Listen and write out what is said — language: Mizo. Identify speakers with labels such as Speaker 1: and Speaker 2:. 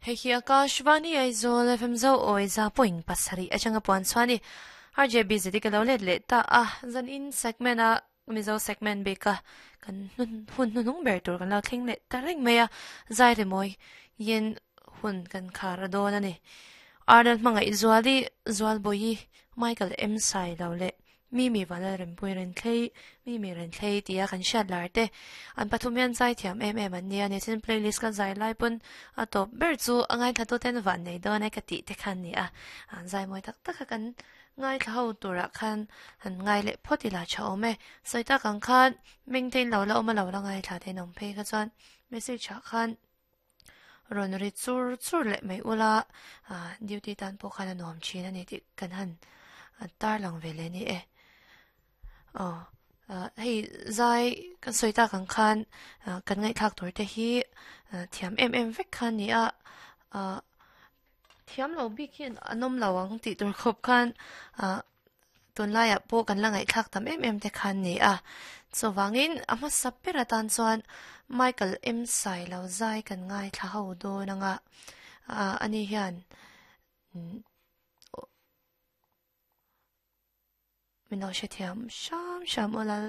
Speaker 1: Hei hi Akashvani Aizawl FM zo awi za point pasarih atanga puan chhuah a ni. RJB zeti ka lo let leh ta a, zan in segment a Mizo segment bik a kan hun hnuhnung ber tur kan lo thleng leh ta reng mai a, zai rimawi yin hun kan khar a dawn a ni. Arnold hmangaih Zuali, Zualbawihi, Michael M Sailo leh Mimi Vanlal Rempui Renthlei, Mimi Renthlei tia kan hriat lar te an pathum hian zai thiam em em an nia ni. Tin playlist ka zai lai pawn a tawp ber chu a ngaithla ten van nei dawn e ka tih te khan ni a. An zai mawi tak tak a kan ngaithla ho turah khan han ngai leh phawt ila tha awm e. Sawi tak ang khan meng te in lo la awm a lo la ngaithla te in awm phei kha chuan message ah khan rawn ri chur chur leh mai ula ah duty tan pawh khan a nuam thin a ni tih kan han tar lang ve leh a ni e. Aw ah hei zai kan sawi tak ang khan ah kan ngaihthlak tur te hi thiam em em vek kha a ni a ah thiam lo bik hi an awm lo ang tih tur khawp khan ah Tunlaiah pawh kan la ngaihthlak tam em em te kha an ni a. Chuvangin a hmasa ber atan chuan Michael M Sailo zai kan ngaithla ho dawn anga ani hian min lo hrethiam hram hram aw lal.